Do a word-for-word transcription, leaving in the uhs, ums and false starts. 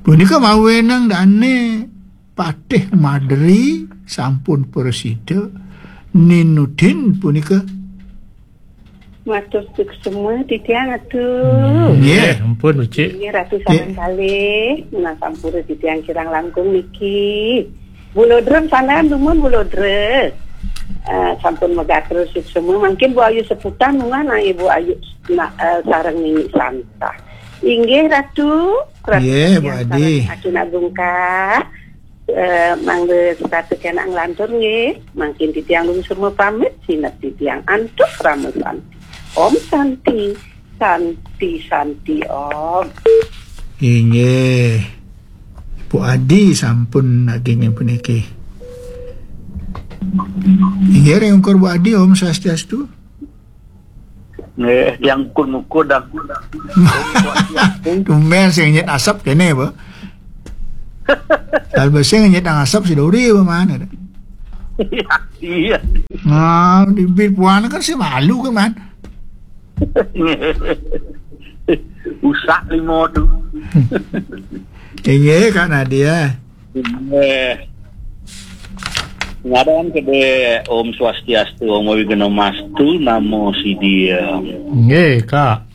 Punika mawenang dane patih madri sampun prasida ninudin punika. Matur suksma titiang Ratu. Nggih. Nggih, ampun, Ucik. Nggih, Ratu sareng kalih. Nah, sampura titiang kirang langkung niki. Bulodrem sanan dumun Bulodre. Eh, sampun megatur suksma. Mangkin Bu Ayu seputan mungah nah Ibu Ayu nah, eh, sareng Nini Santa. Inggih Ratu, Ratu Nggih, Bu titiang Adi. Sareng Adi Nabungka. Eh, mangda setata kena nglantur nggih. Mangkin titiang lungsur mapamit, sineb titiang antuk rama santi. Om Santi, Santi, Santi Om. Inggih. Bu Adi sampun nagingin puniki. Inggih, ring ungkur Bu Adi, Om Swastiastu. Nggih, yang kun-kun dah. Tumben sing nyit asap kene apa? Kalau sing nyit asap si Dori apa mana? Iya, iya. Nah, di bit puan kan si malu kan, man. Usak limo tu. Inggih, Kak Nadia. Inggih. Ngadang kedai Om Swastiastu, Om Wighnamastu, namo Siddham. Nggih, Kak.